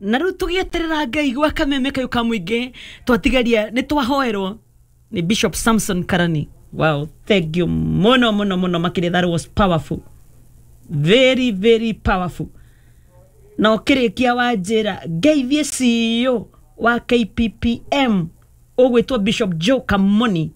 Na rĩu tũgĩeterera Ngai gwa kameme kayũ ka mũingĩ, twatigaria nĩ twahoerwo nĩ Bishop Samson Karani. Wow, thank you mũno mũno mũno makĩria. That was powerful, very very powerful. Na ũkĩrĩkia wanjĩra ngeithie CEO wa KPPM ũgwĩtwo Bishop Joe Kamoni.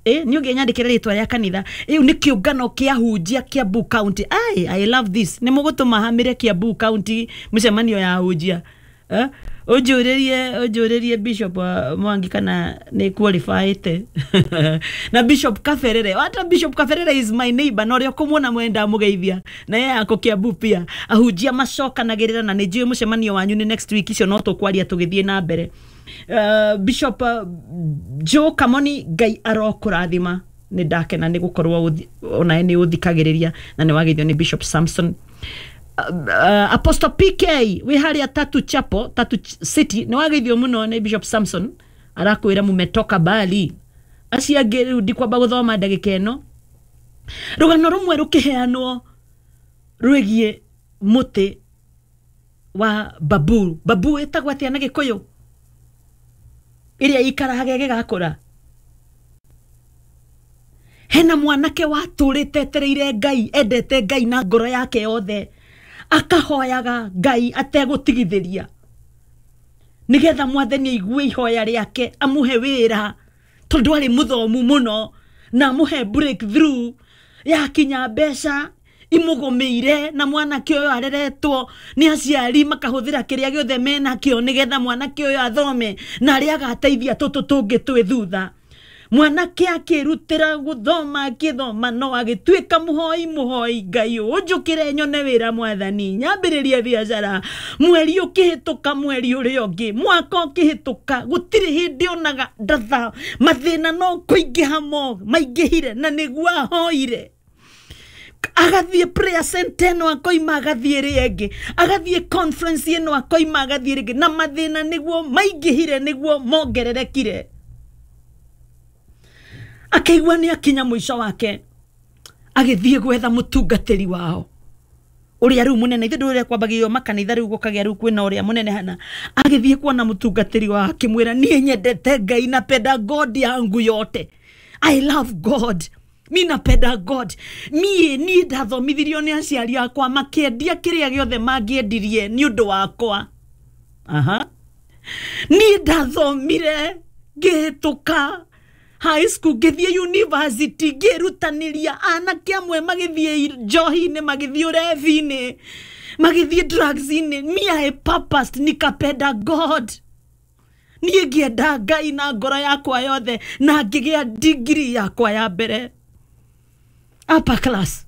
Nĩ ũngĩnyandĩkĩra rĩtwa rĩa kanitha ĩu? Nĩ kĩũngano kĩa hunjia Kiambu County. Ai, I love this. Nĩ mũgũtũma hamĩre Kiambu County mũcemanio ya hunjia, eh? Ũnjũrĩrie Bishop Mwangi kana nĩ qualified na Bishop Kaberere. Hata Bishop Kaberere is my neighbor, na ũrĩa ũkũmuona mwenda mũgeithia na yeye ako Kiambu pia. Ahunjia macokanagĩrĩra, na nĩ njũĩ mũcemanio wanyu nĩ next week. Icio no tũkwaria tũgĩthiĩ na mbere. Bishop Joe Kamoni, Ngai arokũrathima. Nĩ ndakena nĩ gũkorwo onawe nĩ ũthikagĩrĩria na nĩ wageithio nĩ Bishop Samson. Apostle PK wĩ harĩa Tatu Chapo, Tatu City, nĩ wageithio mũno nĩ Bishop Samson. Arakwĩra mumetoka bali. Acio angĩ rĩu ndikwamba gũthoma ndagĩka ĩno. Rũgano rũmwe rũkĩheanwo rwĩgiĩ mũtĩ wa babu. Babu ĩtagwo atĩa na Gĩkũyũ? Ĩrĩa ikaraga ĩgĩgakũra. Hena mwanake watũrĩte etereire Ngai, endete Ngai na ngoro yake yothe, akahoyaga Ngai ategũtigithĩria nĩgetha Mwathani aigue ihoya rĩake, amũhe wĩra tondũ arĩ mũthomu mũno, na amũhe breakthrough yakinya mbeca imũgũmĩire. Na mwanake ũyũ areretwo nĩ aciari makahũthĩra kĩrĩa gĩothe menakĩo nĩgetha mwanake ũyũ athome na arĩa agateithia tũtũ tũngĩ twĩ thutha. Mwanake akĩrutĩra gũthoma, akĩthoma, no agĩtuĩka mũhoi mũhoi. Ngai ũnjũkĩre nyone wĩra, Mwathani, nyambĩrĩrie biacara. Mweri ũkĩhĩtũka, mweri ũrĩa ũngĩ, mwaka ũkĩhĩtũka, gũtirĩ hĩndĩ onaga ndatha. Mathĩna no kũingĩha mo maingĩhire, na nĩguo ahoire. Agathiĩ prayer center ĩno, akoima agathiĩ ĩrĩa ĩngĩ, agathiĩ conference ĩno, akoima agathiĩ ĩrĩa ĩngĩ, na mathĩna nĩguo maingĩhire, nĩguo mongererekire. Akĩigua nĩ akinya mũico wake. Agĩthiĩ gwetha mũtungatĩri wao ũrĩa rĩu mũnene. Ithe ndũrĩa kwambagĩrĩrio makanitha rĩu gũkagĩa rĩu kwĩna ũrĩa mũnene hana. Agĩthiĩ kuona mũtungatĩri wao, akĩmwĩra, "Niĩ nyendete Ngai, napenda God yangu yote. I love God, mi napenda God. Niĩ ndathomithirio nĩ aciari akwa, makĩendia kĩrĩa gĩothe mangĩendirie nĩ ũndũ wakwa. Aha. Niĩ ndathomire, ngĩhĩtũka high school, ngĩthiĩ university, ngĩrutanĩria. Anake amwe magĩthiĩ njohi-inĩ, magĩthiĩ ũrevi-inĩ, magĩthiĩ drugs-inĩ. Me, I purposed, nikapenda God. Niĩ ngĩenda Ngai na ngoro yakwa yothe, na ngĩgĩa degree yakwa ya mbere, upper class.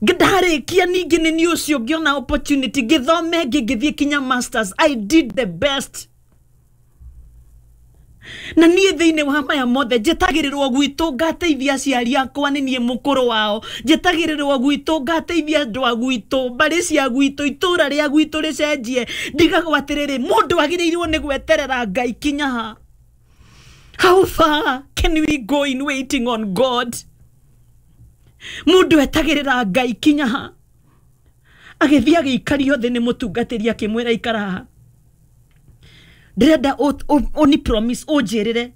Ndarĩkia ningĩ nĩ niĩ ũcio ngĩona opportunity ngĩthome ĩngĩ, ngĩthiĩ kinya masters. I did the best. Na niĩ thĩinĩ wa maya mothe njĩtagĩrĩrwo gwitũ ngateithia aciari akwa, nĩ niĩ mũkũrũ wao. Njĩtagĩrĩrwo gwitũ ngateithia andũ a gwitũ, mbarĩ cia gwitũ, itũra rĩa gwitũ rĩcenjie. Ndigagwo atĩrĩrĩ, mũndũ agĩrĩirwo nĩ gweterera Ngai kinya ha? How far can we go in waiting on God? Mũndũ etagĩrĩra Ngai kinya ha? Agĩthiĩ agĩikario thĩ nĩ mũtungatĩri, akĩmwĩra, "Ikara haha, ndĩrenda ũni promise, ũnjĩrĩre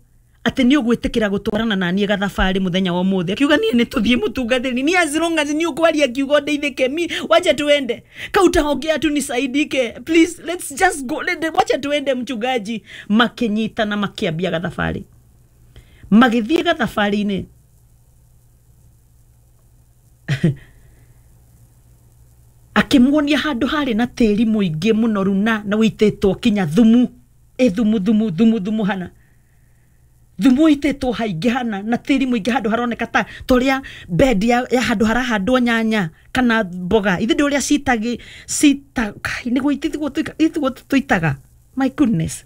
atĩ nĩ ũgwĩtĩkĩra gũtwarana na niĩ gathabarĩ mũthenya wa ũmũthĩ." Akiuga, "Niĩ nĩ tũthiĩ, mũtungatĩri, ni as long as nĩ ũkwaria kiugo ndeithĩke. Mi wacha tuende, kautaongea tu nisaidike. Please, let's just go. Wacha tuende, mchungaji." Makĩnyitana, makĩambia gathabarĩ, magĩthiĩ gathabarĩ-inĩ. Akĩmuonia handũ harĩ na tĩri mũingĩ mũnoru na wĩitĩtwo kinya thumu, ĩ thumu thumu thumu thumu hana, thumu ũitĩtwo haingĩ hana na tĩri mũingĩ, handũ haroneka ta torĩa bed ya handũ harahandwo nyanya kana mboga. Ithe ndĩ ũrĩa citagi cita kai, nĩguo itiguo tũitaga. My goodness,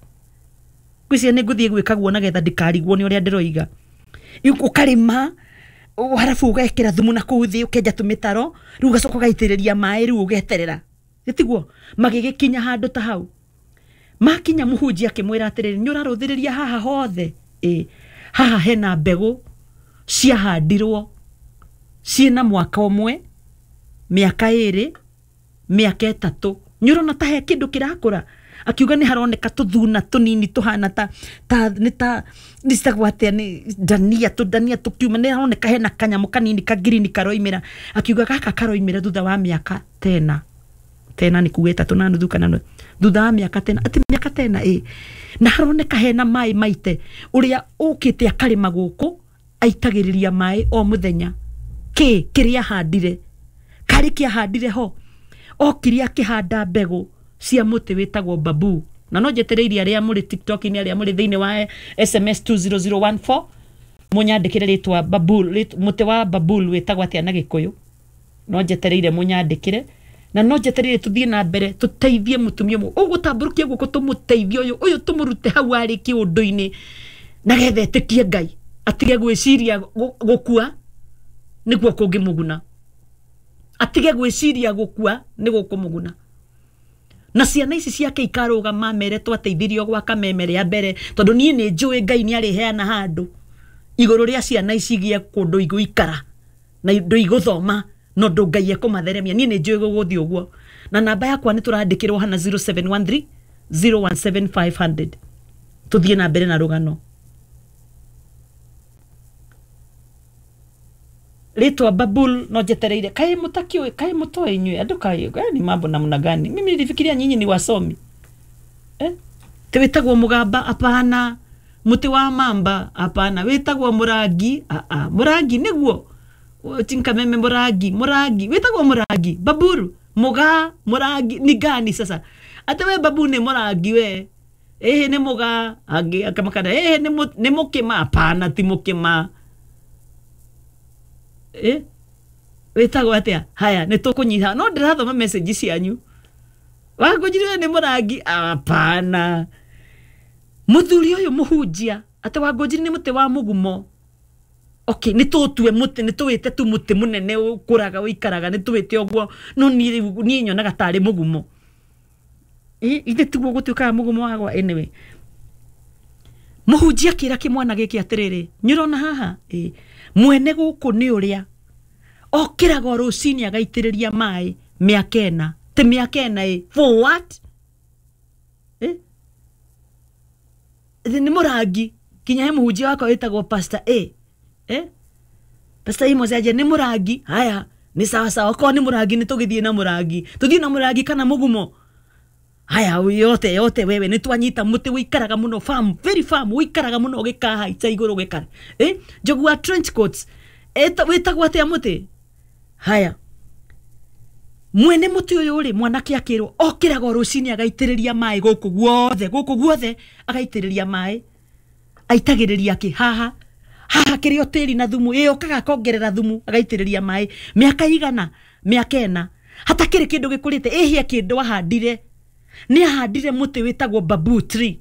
ngwĩciria nĩ ngũthiĩ gwĩka guo nagetha ndikarigwo nĩ ũrĩa ndĩroiga. Ũkarĩma, harabu ũgekĩra thumu na kũu thĩ, ũkenja tũmĩtaro, rĩu ũgacoka ũgaitĩrĩria maĩ, rĩu ũgeterera. Gĩtiguo magĩgĩkinya handũ ta hau. Makinya, mũhunjia akĩmwĩra atĩrĩrĩ, "Nĩ ũrarũthĩrĩria haha hothe? Ĩ haha hena mbegũ ciahandirwo ciĩna mwaka ũmwe, mĩaka 2, mĩaka 3." Nĩ ũrona ta he kĩndũ kĩrakũra? Akiuga nĩ haroneka tũthuna tũnini tũhana ta ta nĩ ta nĩ citagwo atĩa, nĩ ndania, tũndania tũkiuma. Nĩ haroneka hena kanyamũ kanini ka green karoimĩra. Akiuga gaka karoimĩra thutha wa mĩaka tena tena, nĩ kuga 3.5 kana thutha wa mĩaka tena, atĩ mĩaka tena ĩ na haroneka hena maĩ maite. Ũrĩa ũkĩte akarĩma gũkũ aitagĩrĩria maĩ o mũthenya. Kĩ kĩrĩa ahandire karĩ kĩahandire ho, okire akĩhanda mbegũ cia mũtĩ wĩtagwo babu. Na no njetereirie arĩa mũrĩ TikTok-inĩ, arĩa mũrĩ thĩinĩ wa SMS 20014, mũnyandĩkĩre rĩtwa babul, mũtĩ wa babul wĩtagwo atĩa na Gĩkũyũ. No njetereire mũnyandĩkĩre, na no njetereire tũthiĩ na mbere tũteithie mũtumia ũmwe ũgũtambũrũkia guoko, tũmũteithie ũyũ ũyũ, tũmũrute hau arĩ kĩũndũ-inĩ, nagetha etĩkie Ngai, atige gwĩciria gũkua nĩguo kũngĩmũguna, atige gwĩciria gũkua nĩ gũkũmũguna. Na ciana ici ciake ikarũgama mere twateithirio gwaka meme rĩa mbere, tondũ niĩ nĩ njũĩ Ngai nĩ arĩheana handũ igũrũ rĩa ciana ici igĩe kũndũ igũikara na indo igũthoma na ũndũ Ngai ekũmatheremia. Niĩ nĩ njũĩ gũgũthiĩ ũguo. Na namba yakwa nĩ tũrandĩkĩrwo hana, 0713 017500. Tũthiĩ na mbere na rũgano. Rĩtwa babul no njetereire. Kaĩ mũtakĩũĩ? Kaĩ mũtoĩ inyuĩ andũ? Kaĩ ni mambo namna gani? Mimi nilifikiria nyinyi ni wasomi, eh? Ti wĩtagwo mũgamba? Hapana. Mũtĩ wa mamba? Hapana. Wĩtagwo mũrangi? Aa, mũrangi nĩguo tinkameme. Mũrangi, mũrangi wĩtagwo mũrangi. Baburu, mũgaa, mũrangi ni gani sasa? Ate we babu nĩ mũrangi, we ĩhĩ nĩ mũgaa, angĩ akamakana ĩhĩ nĩ mũkĩma. Hapana, ti mũkĩma. Eh? Wĩtagwo atĩa? Haya, nĩ tũkũnyiha, no ndĩrathoma message cianyu. Wangũnjire nĩ mũrangi? Hapana. Mũthuri ũyũ mũhunjia atĩ wangũnjiri nĩ mũtĩ wa mũgumo. Okay, nĩ tũtue mũtĩ, nĩ tũwĩte tu mũtĩ mũnene ũkũraga ũikaraga, nĩ tũwĩte ũguo, no niĩ rĩu niĩ nyonaga tarĩ mũgumo. Ithe tiguo gũtuĩkaga mũgumo wagwa. Anyway, mũhunjia akĩra kĩmwana gĩkĩ atĩrĩrĩ, nĩ ũrona haha ĩ mwene gũkũ nĩ ũrĩa okĩraga o rũcinĩ agaitĩrĩria maĩ mĩaka 4, ti mĩaka 4 ĩ for what, eh? Nĩ mũrangi. Kinya he mũhunjia wakwa wĩtagwo Pastor A, eh? Pastor Amos aje nĩ mũrangi. Haya, nĩ sawa sawa, okorwo nĩ mũrangi nĩ tũgĩthiĩ na mũrangi, tũthiĩ na mũrangi kana mũgumo. Haya, yote yote wewe nĩ twanyita mũtĩ wĩikaraga mũno farm, very farm, wĩikaraga mũno ũgĩkahaica igũrũ gĩkara, eh? Njogu wa trench coats, wĩtagwo atĩa mũtĩ? Haya, mwene mũtĩ ũyũ rĩ, mwanake akĩrwo okĩraga o rũcinĩ agaitĩrĩria maĩ gũkũ guothe, gũkũ guothe agaitĩrĩria maĩ. Aitagĩrĩria kĩ haha? Haha kĩrĩ o tĩri na thumu. Ĩ okaga akongerera thumu, agaitĩrĩria maĩ mĩaka igana, mĩaka 4, hatakĩrĩ kĩndũ gĩkũrĩte. Ĩhĩa kĩndũ ahandire, nĩ ahandire mũtĩ wĩtagwo bamboo tree,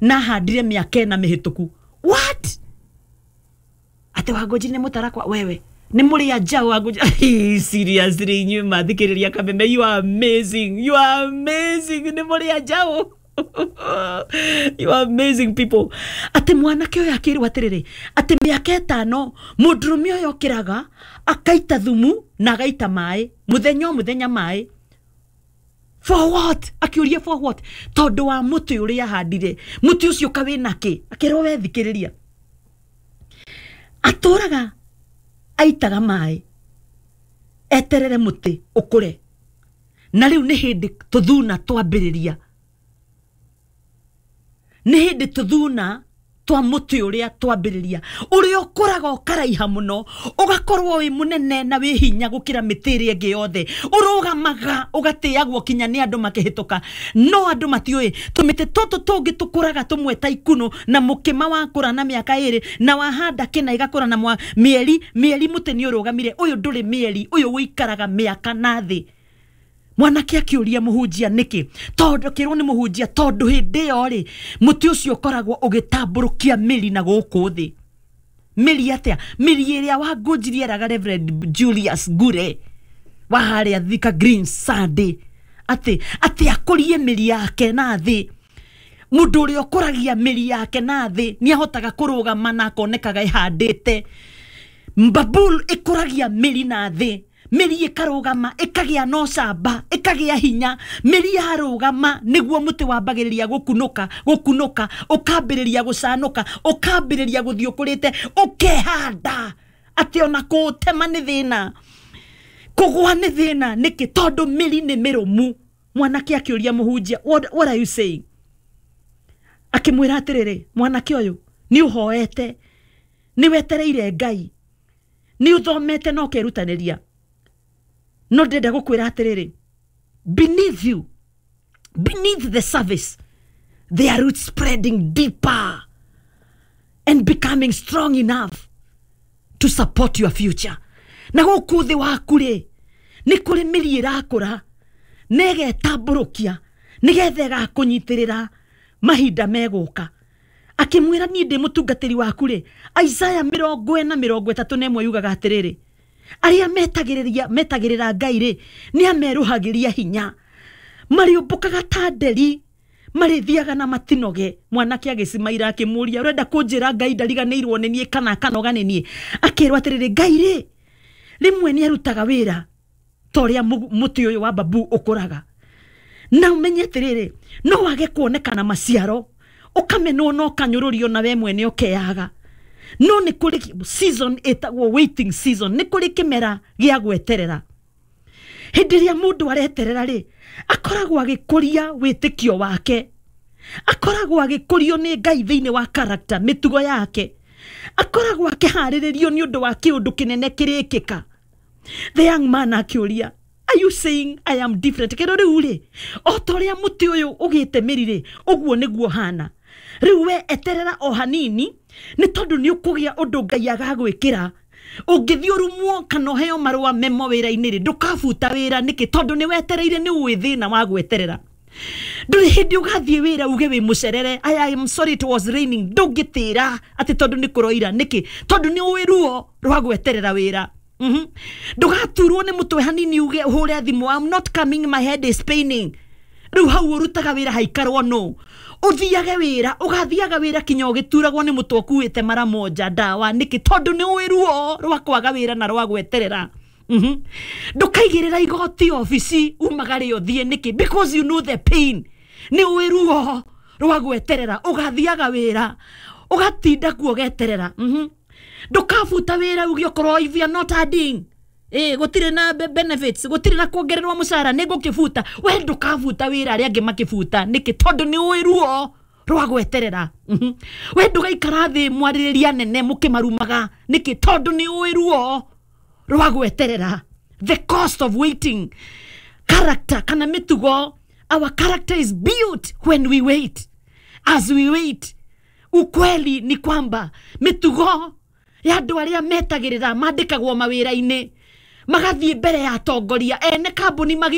na ahandire mĩaka 4 mĩhĩtũku. What? Atĩ Wangũnjiri nĩ mũtarakwa? Wewe nĩ mũrĩa njaũ Wangũnjiri. Seriously, inyuĩ mathikĩrĩria Kameme, you are amazing, you are amazing. Nĩ mũrĩa njaũ. You are amazing people. Atĩ mwanake ũyũ akĩrwo atĩrĩrĩ, atĩ mĩaka 5 mũndũrũme ũyũ okĩraga akaita thumu na agaita maĩ mũthenya o mũthenya maĩ. For what? Akiũria for what? Tondũ wa mũtĩ ũrĩa ahandire. Mũtĩ ũcio kawĩna kĩ? Akĩrwo we thikĩrĩria, atũraga aitaga maĩ eterere mũtĩ ũkũre, na rĩu nĩ hĩndĩ tũthuna twambĩrĩria, nĩ hĩndĩ tũthuna twa mũtĩ ũrĩa twambĩrĩria, ũrĩa ũkũraga ũkaraiha mũno, ũgakorwo wĩ mũnene na wĩ hinya gũkĩra mĩtĩ ĩrĩa ĩngĩ yothe, ũrũgamaga ũgatĩagwo kinya nĩ andũ makĩhĩtũka. No andũ matiũĩ tũmĩtĩ tũtũ tũngĩ tũkũraga tũmwe ta ikunũ, na mũkĩma wakũra na mĩaka 2, na wahanda kĩna ĩgakũra na mĩeri mĩeri, mũtĩ nĩ ũrũgamire. Ũyũ ndũrĩ mĩeri, ũyũ ũikaraga mĩaka na thĩ. Mwanake akĩũria mũhunjia nĩkĩ, tondũ akĩrwo nĩ mũhunjia tondũ hĩndĩ ĩyo rĩ, mũtĩ ũcio ũkoragwo ũgĩtambũrũkia mĩri na gũkũ thĩ. Mĩri atĩa? Mĩri ĩrĩa Wangũnjiri eraga Reverend Julius Ngure wa harĩa Thika Green Sunday atĩ akũrie mĩri yake na thĩ. Mũndũ ũrĩa ũkũragia mĩri yake na thĩ nĩ ahotaga kũrũgama na akonekaga ĩhandĩte. Babul ĩkũragia mĩri na thĩ. Mĩri ĩkarũgama, ĩkagĩa na ũcamba, ĩkagĩa hinya. Mĩri yarũgama nĩguo mũtĩ wambagĩrĩria gũkunũka, gũkunũka, ũkambĩrĩria gũcanũka, ũkambĩrĩria gũthiĩ ũkũrĩte, ũkehanda atĩ ona kũũtema nĩ thĩna, kũgwa nĩ thĩna. Nĩkĩ? Tondũ mĩri nĩ mĩrũmu. Mwanake akĩũria mũhunjia, what are you saying? Akĩmwĩra atĩrĩrĩ, mwanake ũyũ, nĩ ũhoete, nĩ wetereire Ngai, nĩ ũthomete na ũkerutanĩria, no ndĩrenda gũkwĩra atĩrĩrĩ, beneath you, beneath the surface, there are roots spreading deeper and becoming strong enough to support your future. Na gũkũ thĩ waku rĩ, nĩ kũrĩ mĩri ĩrakũra na ĩgetambũrũkia nĩgetha ĩgakũnyitĩrĩra mahinda megũka. Akĩmwĩra, niĩ ndĩ mũtungatĩri waku rĩ, Isaya 41:31 yugaga atĩrĩrĩ, arĩa metagĩrĩria metagĩrĩra Ngai rĩ, nĩ amerũhagĩria hinya, marĩũmbũkaga ta nderi, marĩthiaga na matinoge. Mwanake agĩcimaira akĩmũria, ũrenda kũnjĩra Ngai ndariganĩirwo nĩ niĩ kana akanoga nĩ niĩ? Akĩrwo atĩrĩrĩ, Ngai rĩ, rĩmwe nĩ arutaga wĩra ta ũrĩa mũtĩ ũyũ wa babu ũkũraga. Na ũmenye atĩrĩrĩ, no wage kuonekana maciaro, ũkamenwo na ũkanyũrũrio na we mwene ũkeyaga, no nĩ kũrĩ season ĩtagwo waiting season. Nĩ kũrĩ kĩmera gĩa gweterera. Hĩndĩ ĩrĩa mũndũ areterera rĩ, akoragwo agĩkũria wĩtĩkio wake, akoragwo agĩkũrio nĩ Ngai thĩinĩ wa character, mĩtugo yake, akoragwo akĩharĩrĩrio nĩ ũndũ wa kĩũndũ kĩnene kĩrĩkĩka. The young man akĩũria, are you saying I am different? Kĩrũ rĩu rĩ, o ta ũrĩa mũtĩ ũyũ ũgĩte mĩri rĩ, ũguo nĩguo hana rĩu. We eterera o hanini, nĩ tondũ nĩ ũkũgĩa ũndũ Ngai agagwĩkĩra. Ũngĩthiĩ ũrumwo kana ũheo marũa memo wĩra-inĩ rĩ, ndũkabuta wĩra. Nĩkĩ? Tondũ nĩ wetereire, nĩ ũĩ thĩna wa gweterera. Ndũrĩ hĩndĩ ũgathiĩ wĩra uge wĩ mũcerere, I am sorry, it was raining. Ndũngĩtĩra atĩ tondũ nĩ kũroira. Nĩkĩ? Tondũ nĩ ũĩ ruo rwa gweterera wĩra. Ndũgaturwo nĩ mũtwe hanini uge, ũhũre thimũ, I'm not coming, my head is paining. Rĩu hau ũrutaga wĩra haikarwo no ũthiage wĩra, ũgathiaga wĩra kinya ũgĩturagwo nĩ mũtwe ũkuĩte mara moja ndawa. Nĩkĩ? Tondũ nĩ ũĩ ruo rwa kwaga wĩra na rwa gweterera. Ndũkaigĩrĩra igoti obici umagare ũthiĩ. Nĩkĩ? Because you know the pain, nĩ ũĩ ruo rwa gweterera. Ũgathiaga wĩra ũgatinda kuo ũgeterera. Ndũkabuta wĩra uge okorwo if you are not adding, gũtirĩ na benefits, gũtirĩ na kuongererwo mũcara, nĩ ngũkĩbuta. We ndũkabuta wĩra arĩa angĩ makĩbuta. Nĩkĩ? Tondũ nĩ ũĩ ruo rwa gweterera. We ndũgaikara thĩ mwarĩrĩria nene mũkĩmarumaga. Nĩkĩ? Tondũ nĩ ũĩ ruo rwa gweterera, the cost of waiting. Character kana mĩtugo, our character is built when we wait, as we wait. Ukweli ni kwamba mĩtugo ya andũ arĩa metagĩrĩra, mandĩkagwo mawĩra-inĩ, magathiĩ mbere ya atongoria ene kambuni magĩ